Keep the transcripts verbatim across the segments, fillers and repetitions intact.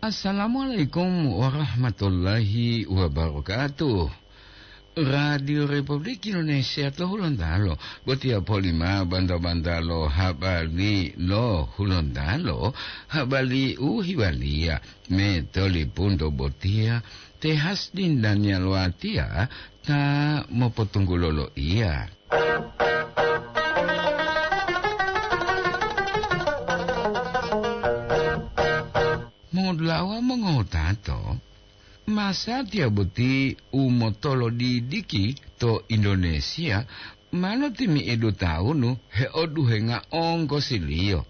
Assalamualaikum warahmatullahi wabarakatuh. Radio Republik Indonesia to Hulontalo, botiya polima banta-bantalo habari lo Hulontalo, habari u hiwaliya me tolipunto botiya, te Hasdin Daniel Watiya ta mopotunggulo lo iya. Modulawa mongowutato, masatiya boti u motolodidiki to Indonesia ma lotimi'idu tawunu heoduhenga onggosiliyo,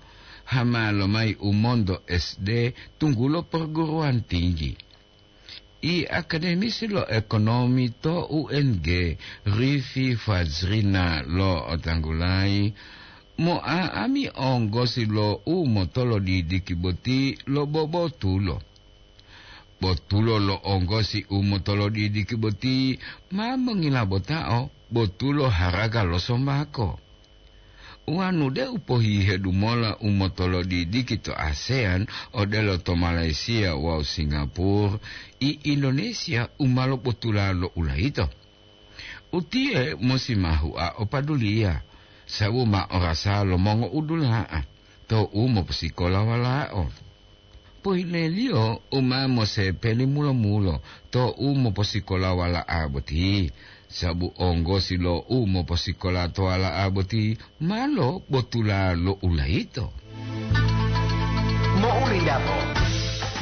hama lomayi u monto S D tunggulo perguruan tinggi. I akademisi lo ekonomi to U N G, Rifi Fajrina lo'otanggulayi, mo'a'ami onggosi lo u motolodidiki boti lo bobotulo. Botulo lo onggosi u motolodidiki boti ma mongilabotao botulo haraga lo sombako. Wanu deu pohihedu mola u motolodidiki to ASEAN odelo to Malaysia wawu Singapura, i Indonesia u ma lobotula lo ulayito. Utiye musi ma hua o paduliya, sabu ma orasa lo mongo'udula'a to u moposikola walao. Pohileliyo u ma mosepeli mulo-mulo to u moposikola wala'a boti, sabu onggosi lo u moposikola to wala'a boti ma lobotula lo ulayito. Mo'ulindapo.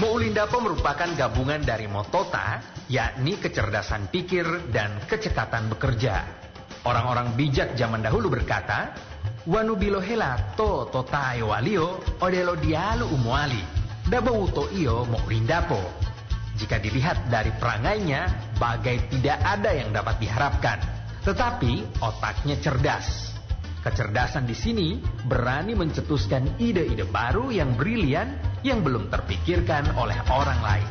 Mo'ulindapo merupakan gabungan dari motota, yakni kecerdasan pikir dan kecekatan bekerja. Orang-orang bijak zaman dahulu berkata, "Wanu bilohela to totaewaliyo odelo diyalu u mowali, dabo wuto'iyo mo'ulindapo." Jika dilihat dari perangainya, bagai tidak ada yang dapat diharapkan. Tetapi otaknya cerdas. Kecerdasan di sini berani mencetuskan ide-ide baru yang brilian yang belum terpikirkan oleh orang lain.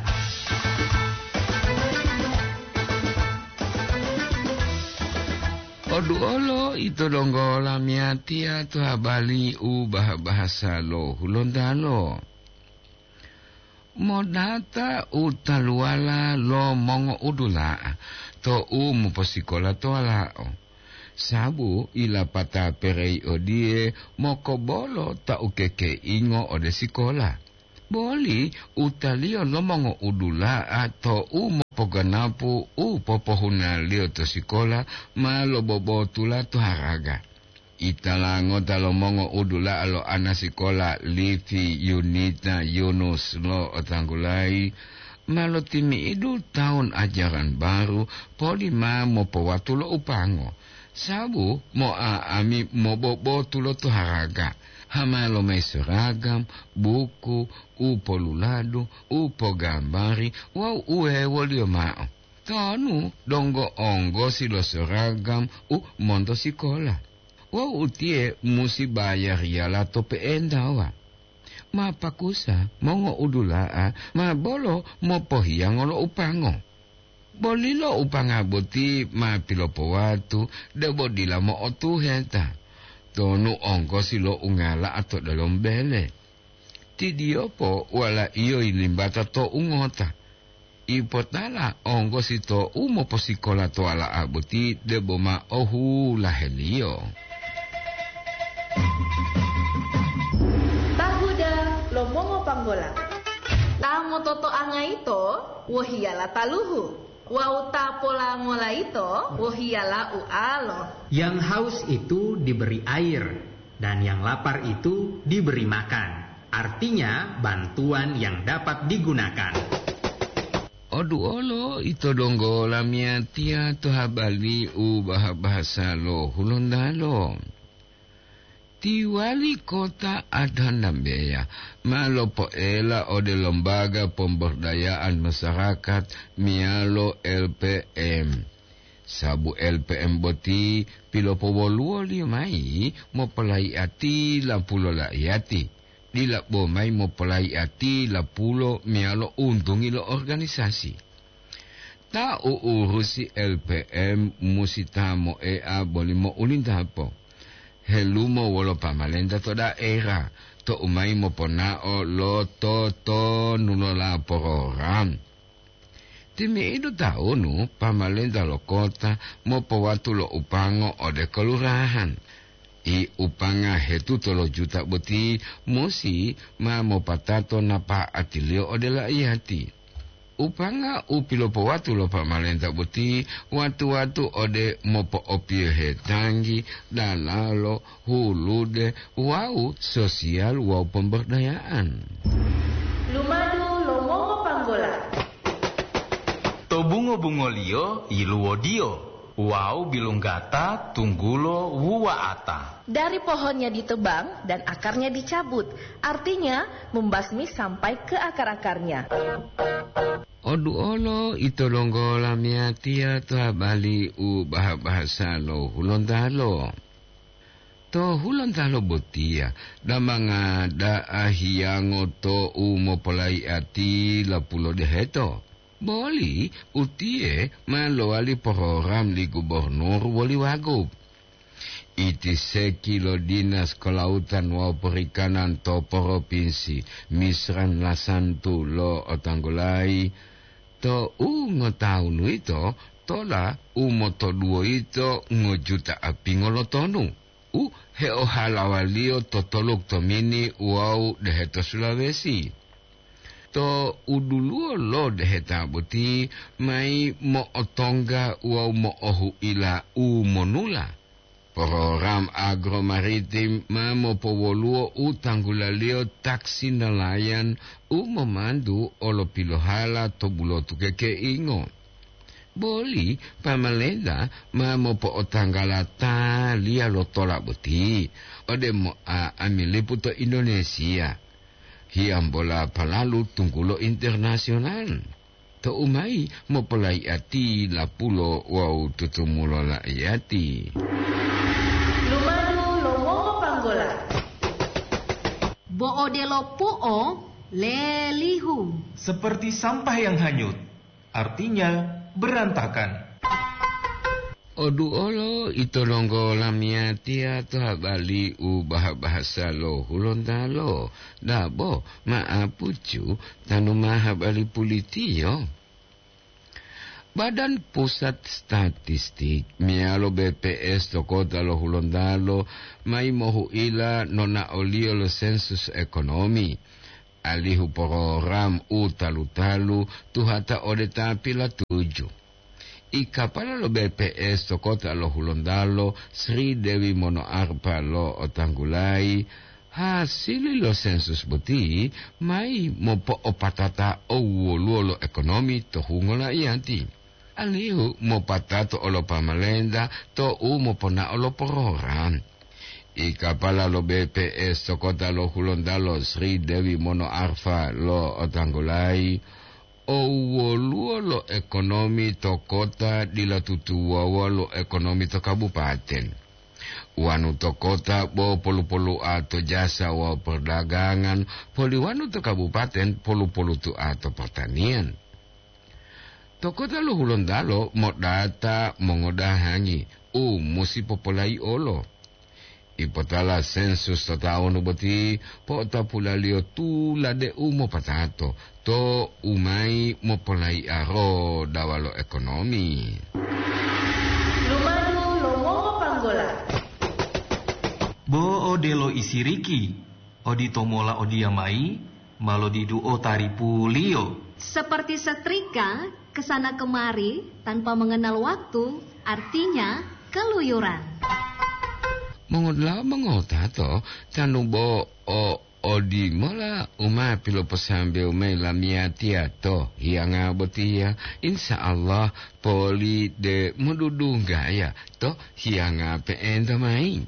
Oduolo ito donggo lamiyatiya to habari u bah-bahasa lo Hulontalo. Modata u taluwala lo mongo'udula'a to u moposikola to walao. Sabu ilapata perei odiye mokobolo ta ukekeingo ode sikola. Boli utaliyo lo mongo'udula'a to u mopoganapu u popohunaliyo to sikola ma lobobotula to haraga. Itala ngota lo mongo'udula'a lo ana sikola Livi Yunita Yunus lo'otanggulayi ma lotimi'idu tahun ajaran baru poli ma mopowatu lo upango, sabu mo'a'ami mobobotu lo toharaga, hama lomayi soragam, buku, u poluladu, u pogambari wawu u hewoliyo ma'o. Tonu donggo onggosi lo soragam u monto sikola. Wawu utiye musi bayariyala to pe'entawa. Ma pakusa mongo'udula'a ma bolo mopohiyango lo upango. Bolilo upanga boti ma pilopowatu debo dila mo'otuheta, tonu onggosi lo ungala'a to delomo bele. Ti Diyopo walaiyo yilimbata to ungota. Ipotala onggosi to u moposikola to wala'a boti debo ma ohulaheliyo. Tahuda lo mongopanggola. Ta mototoanga yito wohiyala taluhu, wawu ta polangola yito wohiyala ualo. Yang haus itu diberi air, dan yang lapar itu diberi makan. Artinya, bantuan yang dapat digunakan. Oduolo ito donggo lamiyatiya to habari u baha-bahasa lo Hulontalo. Ti wali kota Adanambeya ma lopoela ode Lembaga Pemberdayaan Masyarakat meyalo L P M. Sabu L P M boti pilopowoluwoliyo mayi mopolayiati lapulo laiyati, dila bo mayi mopolayiati lapulo meyalo untungi lo organisasi. Ta u'urusi L P M musi ta moea boli mo'ulintapo, helumo wolo pamalenta to daera, to u mayi moponao lo totonu lo laporam. Timi'idu taunu pamalenta lo kota mopowatu lo upango ode kelurahan. I upanga hetuto lo juta boti musi ma mopatato napa'atiliyo ode laiyati. Upanga u pilopowatu lo pamalenta boti watu-watu ode mopo'opiyohe tanggi, dalalo, hulude, wawu sosial wawu pemberdayaan. Lumadu lo mongopanggola. To bungo-bungoliyo yiluwodiyo wawu bilunggata tunggulo wuwa'ata. Dari pohonnya ditebang dan akarnya dicabut, artinya membasmi sampai ke akar-akarnya. Oduolo ito donggo lamiyatiya to habali u baha-bahasa lo Hulontalo. To Hulontalo botiya, damanga da'a hiyango to u mopolaiati lapulo deheto. Boli utiye ma lowali program li gubernur woli wagub. Iti seki lo Dinas Kelautan wawu Perikanan to Propinsi Misran Lasantu lo otanggulayi, to u ngotawunu yito tola u motoduwo yito ngojuta apingo lo tonu, u heohalawaliyo to toluk tomini wawu deheto Sulawesi. To uduluwo lo deheta boti mayi mo'otongga wawu mo'ohu'ila u monula. Program agromaritim ma mopowoluwo u tanggulaliyo taksi nelayan u momantu olopilohala to bulotu kekeingo. Boli pamalenta ma mopo'otanggala taliya lo tola boti ode mo'a'amilipu to Indonesia, hiyambola palalu tunggulo internasional. To u mayi mopolaiati lapulo wawu tutumulo laiyati. Lumadu lo mongopanggola. Bo odelo pu'o lelihu. Seperti sampah yang hanyut, artinya berantakan. Oduolo ito donggo lamiyatiya to habali u baha-bahasa lo Hulontalo, dabo ma'apucu tanu ma habali pulitiyo. Badan Pusat Statistik meyalo B P S to kota lo Hulontalo mayi mohu'ila nonaoliyo lo sensus ekonomi, alihu program u talu-talu tuhata ode ta pilatuju. I kapala lo B P S to kota lo Hulontalo, Sri Dewi Monoarpa lo otanggulayi, hasili lo sensus boti mayi mopo'opatata owoluwo lo ekonomi to hungo laiyati, alihu mopatato olo pamalenta to u moponao lo program. I kapala lo B P S to kota lo Hulontalo, Sri Dewi Monoarfa lo otanggulayi, owoluwo lo ekonomi to kota dila tutuwawa lo ekonomi to kabupaten. Wanu to kota bo polu-polu'a to jasa wawu perdagangan, poli wanu to kabupaten polu-polutu'a to pertanian. To kota lo Hulontalo modata mongodahangi u musi popolayi'olo. Ipotala sensus to tawunu boti po'otapulaliyo tulade u mopatato to u mayi mopolayi'a rodawa lo ekonomi. Lumadu lo mongopanggola. Bo odelo isiriki, odito mola odiyamayi, ma lodiduo taripuliyo. Seperti setrika, ke sana kemari tanpa mengenal waktu, artinya keluyuran. Mongodula'a mongotato, tanu bo o odimola u ma piloposambewu mayi lamiyatiya to hiyanga botiya, insya Allah poli de modudunggaya to hiyanga pe'enta mayi.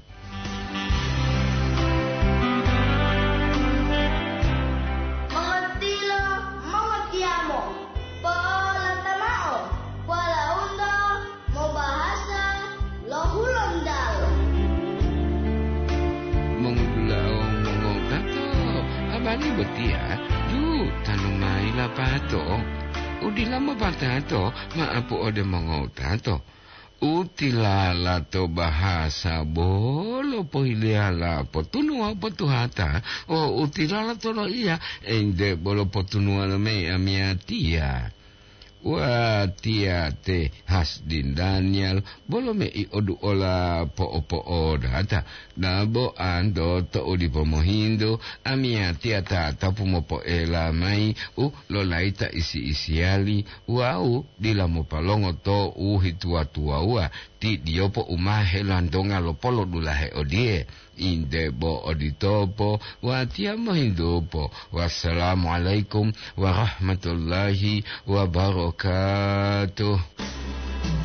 Mongontilo, mongotiyamo, po'olata mao, polaundo mobahasa lo Hulontalo. Mongudulao mongotato, abali botiya ju tanu mayi lapato. Udila mopatato, ma'apu ode mongotato. U tilala to bahasa bolo pohileyala potunuwa potuhata, o u tilala to loiya ente bolo potunuwa lo mei amiyatiya. Watiya te Hasdin Daniel bolo mei oduola po'opo'odata, dabo ando to u dipo mohintu, amiyatiya tatapu mopoela mayi u lolayita isi-isiyali wawu dila mopalongo to u hituwa-tuwawuwa, ti diyopo u ma helantonga lo polodulahe odiye, inde bo oditopo, watiya mohintupo. Wassalamualaikum warahmatullahi wabarakatuh.